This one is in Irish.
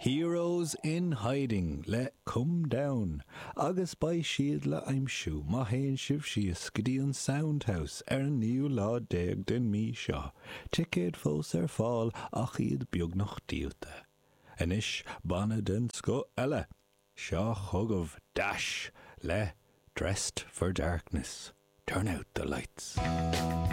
Heroes in Hiding le Come Down agus beidh siad le aimsiú má théann sibh síos go dtí an Soundhouse ar an naoú lá déag den mí seo, ticéid fós ar fáil ach iad beagnach díolta. Anois banna den scoth eile, seo chugaibh Dash le Dressed for Darkness, Turn Out the Lights.